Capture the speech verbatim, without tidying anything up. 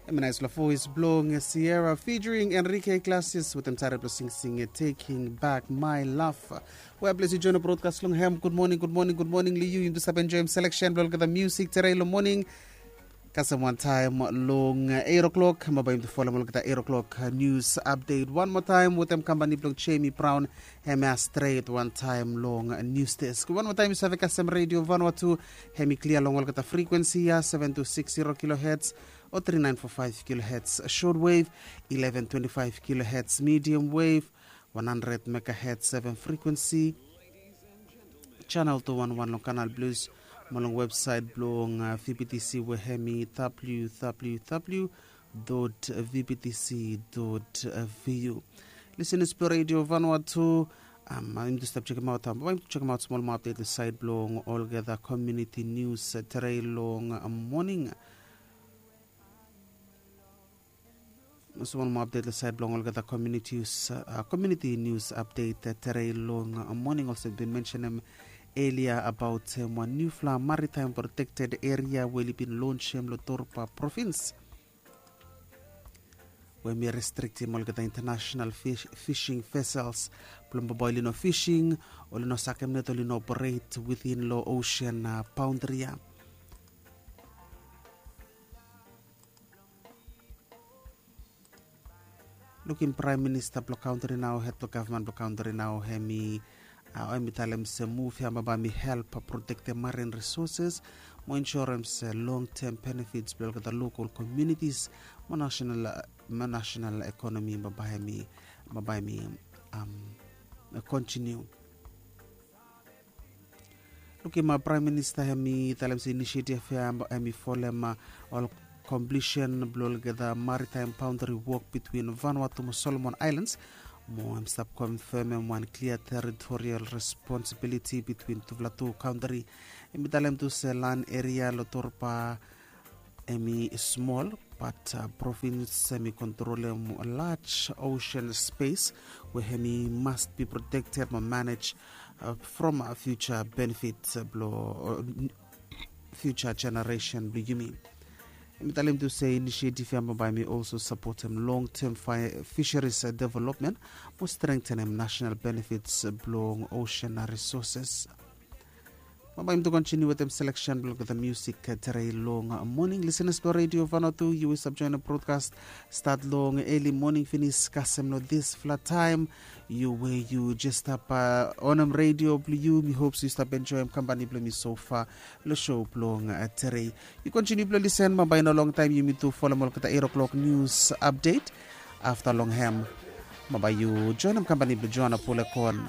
Em i nais long voes blong Sierra featuring Enrique Iglesias wetem tare blong singsing Taking Back My Love. Wea ples yu join brodkas long hem. Gud moning, gud moning, gud moning long yu. Yum tu stap enjoim selection blong olgeta musik tere long moning. Kasem wantaem long eight o'clock, ma bae yum tu folem olgeta eight o'clock news update wan moa taem wetem kampani blong Jamie Brown. Hem ya stret wantaem long news desk. Wan moa taem yu save kasem Radio Vanuatu. Hem i klia long olgeta frekuensi ya, seven two six zero kilohertz o three nine four five kilohertz shortwave, eleven twenty-five kilohertz medium wave, one hundred megahertz seven frequency, channel two one one long Canal Plus, mo long website blong uh, V B T C we hem i W W W dot V B T C dot V U. Listeners blong Radio Vanuatu, um, yum tu stap chekem aot, um, yum tu chekem aot smol moa update long side blong olgeta community news uh, tere long uh, morning. Smol moa update long side blong olgeta community news, uh, community news update uh, tere long uh, morning. Olsem bin mentionem earlier about um, wan newfala maritime protected area we oli bin launchem long Torba province. We mi restrictim olgeta international fish, fishing vessels blong baba oli no fishing, oli no sakem net, oli no operate within long ocean uh, boundary ya. Lukim Praem Minista blong kantri nao, hed blong gavman blong kantri nao, hem i uh, hem i talem se muv ya baba mi help protektem marine resources mo insurance long term benefits blong olgeta local communities mo national, mo national economy baba hem i, baba hem i um, continue. Lukim Praem Minista hem i talem se inisiatif ya hem i folem ol completion blong olgeta maritime boundary wok between Vanuatu mo Solomon Islands. Mo hem stap confirmem wan clear territorial responsibility between tufala tu kantri. Hem i talem tu se land area long Torba hem i smol, but uh, province hem i kontrolem large ocean space we hem i must be protected mo manage uh, from uh, future benefits uh, blong uh, future generation blong yumi. Hem i talem tu se inisiatif ya baba hem i also supportem long term fi- fisheries uh, development mo strengthenem national benefits uh, blong ocean uh, resources. Baba yum tu continue wetem selection blong olgeta music uh, tere long uh, morning. Listeners blong Radio Vanuatu, yu we stap join brodkas start long early morning finis kasem long disfala taem. Yu we yu jes stap uh, onem radio blong yu, mi hope se yu stap enjoim kampani blong mi so far long show blong uh, tere. Yu continue blong listen, baba i no long taem yumi tu folem olgeta eight o'clock news update. Afta long hem, baba yu joinem kampani blong Joana Pulekon.